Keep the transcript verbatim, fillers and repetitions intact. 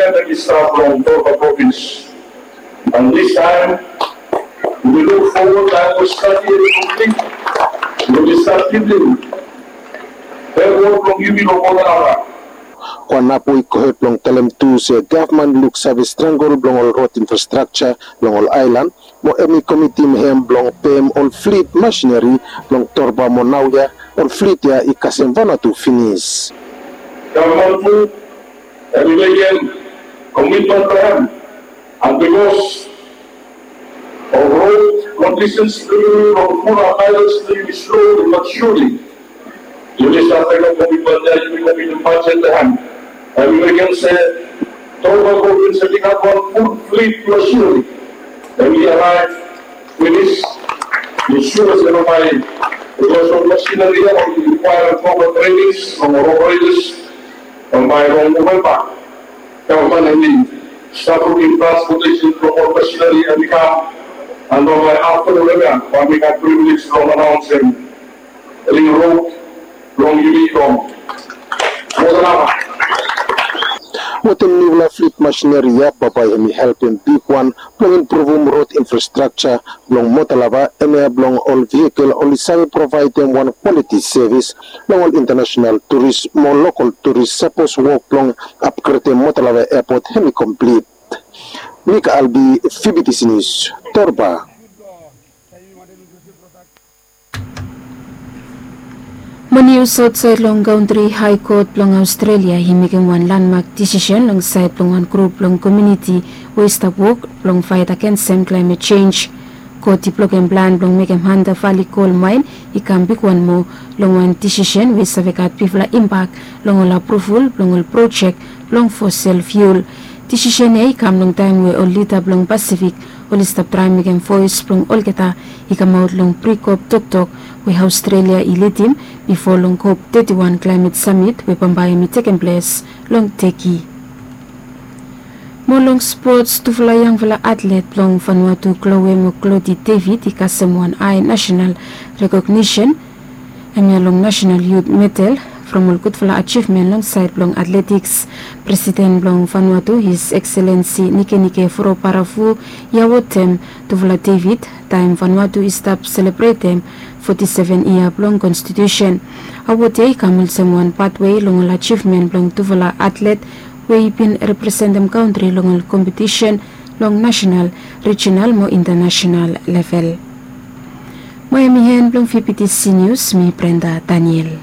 Em i stap long Torba provins. And this time, we look forward taem we stap ia long Torba, we stap givim hem wok blong yumi long Mota Lava. Kuanapu i gohed blong talem tu se gavman i luksave strangol blong ol rod infrastrakja long ol aelan, mo hem i komitim hem blong pem ol flit masineri blong Torba mo naoia ol flit ya i kasem Vanuatu finis. Gavman tu hem i mekem komitmen blong hem, and bikos of rod kondisens blong yumi, long fulap aelan blong yumi, sloli but surely yumi stap mekem komitmen ya, yumi komitim bajet blong hem. Hem i mekem se Torba provins hem i gat wan ful flit blong sloli. Hem i araev finis. Mi sua se long bae, bikos ol masineri ya i rikwaerem propa trenings long ol operetors, long bae long Novemba gavman hem i stap lukim transpotesen blong ol masineri hem i kam. And long bae afta Novemba bae mi gat privilej blong anaonsem ring rod blong yumi long Mota Lava. Wetem niufala flit masineri ya, bambae hem i helpem bigwan blong impruvum rod infrastrakja blong Mota Lava, hemia blong ol vehikel oli save provaedem wan kwaliti sevis long ol intanasenal turis mo lokol turis, sapos wok blong apgredem Mota Lava Epot hem i komplit. Nik Albi, V B T C Nius, Torba. Mo nius aotsaed long kantri, Hae Kot blong Aostrelia i mekem wan landmak disisen long saed blong wan grup blong komuniti we i stap wok blong faet agensem klaemet jenj. Kot i blokem plan blong mekem Hunter Valley Coal Mine i kam bigwan moa long wan disisen we i save gat bigfala impak long ol apruvol blong ol projek blong fosel fiul. Disisen ya i kam long taem we ol lida blong Pasifik oli stap traem mekem voes blong olgeta i kamaot long pri-COP toktok we Aostrelia i lidim bifo long COP thirty-one Climate Summit we bambae hem i tekem ples long Teki. Mo long spots, tufala yangfala atlet blong Vanuatu, Chloe mo Claudie David, i kasem wan ae nasenal rekognisen, hemia long National Youth Medal, from ol gudfala ajivmen long saed blong atletiks. Presiden blong Vanuatu, His Excellency Nikenike Vurobaravu, i awotem tufala David taem Vanuatu i stap selebretem foti seven yia blong konstitusen. Awod ya i kam olsem wan patwei long ol ajivmen blong tufala atlet we i bin representem kantri long ol kompetisen long nasenal, rijinal mo intanasenal level. Mo hemi en blong V B T C Nius, mi Brenda Daniel.